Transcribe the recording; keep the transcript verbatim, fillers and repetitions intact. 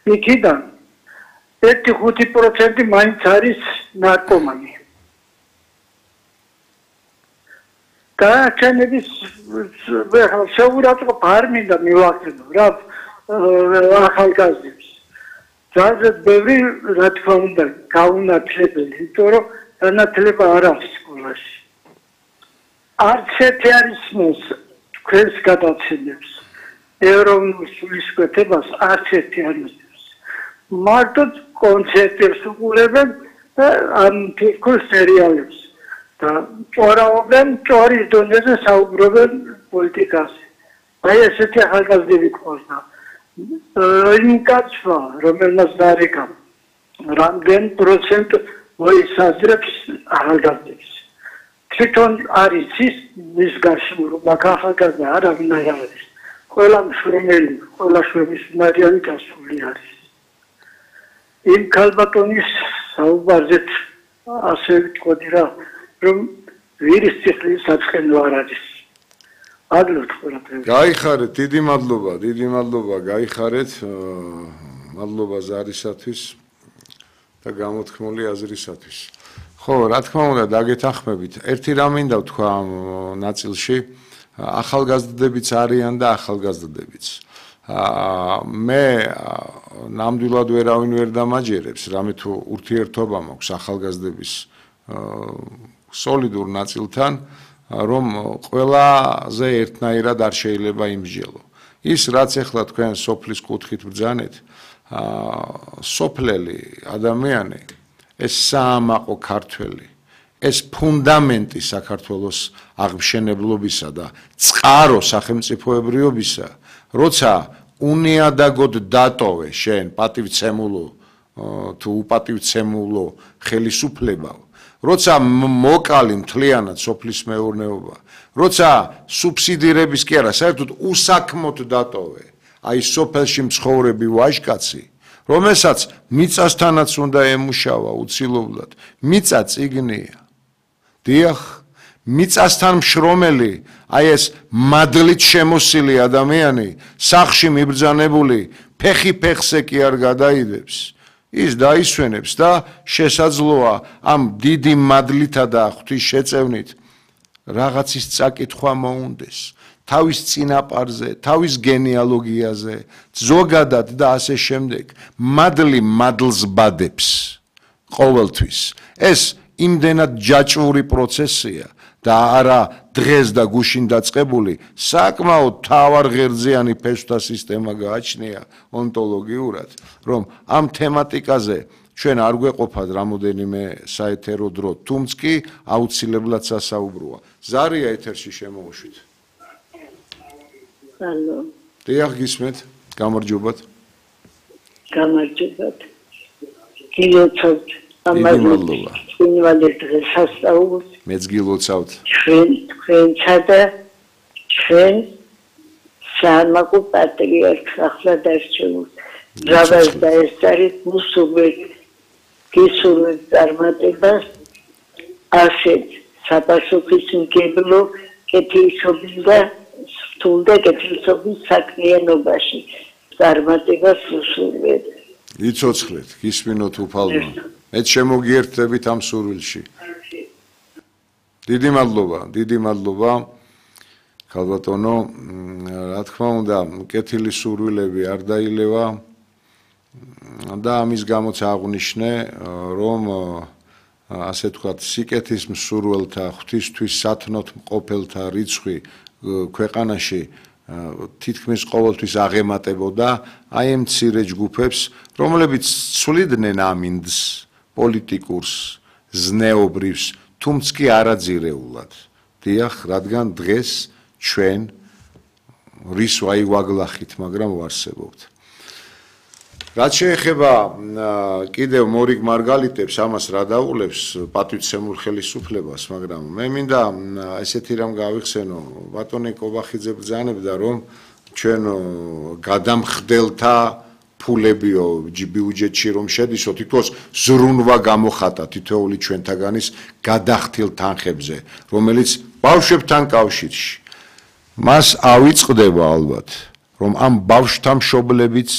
იქიდან ერთი ხუთი პროცენტი მაინც არის ნარკომანი. გაჩენების შეურაცხყოფა არ მინდა მივახსენო რა ახალგაზრდებს. ძალიან ბევრი რა თქმა უნდა გაუნათლებელი, იმიტომ რომ განათლება არ აქვს სკოლაში. არც ერთი არ ისმის თქვენს გადაცემებს. ეროვნულ სულისკვეთებას არც ერთი არ ისმის. მარტო კონცერტებს უყურებენ და ამ თითქოს სერიალებს. და ჭორაობენ, ჭორის დონეზე საუბრობენ პოლიტიკაზე. აი ესეთი ახალგაზრდები ყავდა. იმ კაცმა, რომელმაც დაარეკა, რამდენ პროცენტ მოისაზრებს ახალგაზრდებს. თვითონ არის ის მის გარშემო რომ ახალგაზრდა არავინ არ არის. ყველა მშვენიერი, ყველა შვენისმარიანი გასული არის. იმ ქალბატონის საუბარზეც ასე ვიტყოდი რა, რომ ვირის ციხლის საწყენო არ არის. აგლოთ ყველაფერს. გაიხარეთ, დიდი მადლობა, დიდი მადლობა, გაიხარეთ. მადლობა ზარისათვის და გამოთქმული აზრისათვის. ხო, რა თქმა უნდა, დაგეთანხმებით. ერთი რამ მინდა ვთქვა ამ ნაწილში, ახალგაზრდებიც არიან და ახალგაზრდებიც. მე ნამდვილად ვერავინ ვერ დამაჯერებს, რამე თუ ურთიერთობა მაქვს ახალგაზრდების სოლიდურ ნაწილთან, რომ ყველაზე ერთნაირად არ შეიძლება იმსჯელო. ის რაც ახლა თქვენ სოფლის კუთხით ბრძანეთ, სოფლელი ადამიანი, ეს საამაყო ქართველი, ეს ფუნდამენტი საქართველოს აღმშენებლობისა და წყარო სახელმწიფოებრიობისა, როცა უნიადაგოდ დატოვე შენ პატივცემულო თუ უპატივცემულო ხელისუფლებაო, როცა მოკალი მთლიანად სოფლის მეურნეობა, როცა სუბსიდირების კი არა, საერთოდ უსაქმოდ დატოვე, აი სოფელში მცხოვრები ვაჟკაცი, რომელსაც მიწასთანაც უნდა ემუშავა უცილობლად, მიწა წიგნია. დიახ, მიწასთან მშრომელი, აი ეს მადლით შემოსილი ადამიანი, სახლში მიბრძანებული, ფეხი ფეხზე კი არ გადაიდებს. ის დაისვენებს და შესაძლოა ამ დიდი მადლითა და ღვთის შეწევნით რაღაცის წაკითხვა მოუნდეს თავის წინაპარზე, თავის გენეალოგიაზე, ზოგადად და ასე შემდეგ. მადლი მადლს ბადებს ყოველთვის. ეს იმდენად ჯაჭვური პროცესია და არა დღეს და გუშინ დაწყებული, საკმაოდ მთავარღერძიანი ფესვთა სისტემა გააჩნია ონტოლოგიურად, რომ ამ თემატიკაზე ჩვენ არ გვეყოფათ რამოდენიმე საეთერო დრო, თუმცა კი აუცილებლად სასაუბროა. ზარია ეთერში შემოუშვით. ალო. დიახ, გისმენთ, გამარჯობათ. გამარჯობათ. გილოცავთ. მადლობა. ინვალიდ დღესასწაულს. მეც გილოცავთ. ჩვენ თქვენსა და ჩვენ საამაყო პატრიარქს ახლად არჩევთ. რავას და ეს არის მუსულმან გისურვებთ წარმატებას ასეთ საპასუხისმგებლო კეთილშობილ და სრთულ და კეთილშობილ საქმიანობაში წარმატებას ვუსურვებთ. იცოცხლეთ, გისმინოთ უფალმა. მეც შემოგიერთდებით ამ სურვილში. დიდი მადლობა, დიდი მადლობა. ქალბატონო, რა თქმა უნდა, კეთილი სურვილები არ დაილევა და ამის გამოც აღვნიშნე, რომ ასე თქვათ, სიკეთის მსურველთა, ღვთისთვის სათნოთ მყოფელთა რიცხვი ქვეყანაში თითქმის ყოველთვის აღემატებოდა აი ამ მცირე ჯგუფებს, რომლებიც ცვლიდნენ ამინდს, პოლიტიკურს, ზნეობრივს, თუმცა კი არაძირეულად. დიახ, რადგან დღეს ჩვენ რის ვაი ვაგლახით, მაგრამ ვარსებობთ. რაც შეეხება კიდევ მორიგ მარგალიტებს, ამას რა დაულევს პატივცემულ ხელისუფლებას, მაგრამ მე მინდა ესეთი რამ გავიხსენო, ბატონი კობახიძე ბრძანებდა, რომ ჩვენ გადამხდელთა ფულებიო ბიუჯეტში რომ შედისო, თითქოს ზრუნვა გამოხატა თითოეული ჩვენთაგანის გადახდილ თანხებზე, რომელიც ბავშვებთან კავშირში მას ავიწყდება ალბათ, რომ ამ ბავშვთა მშობლებიც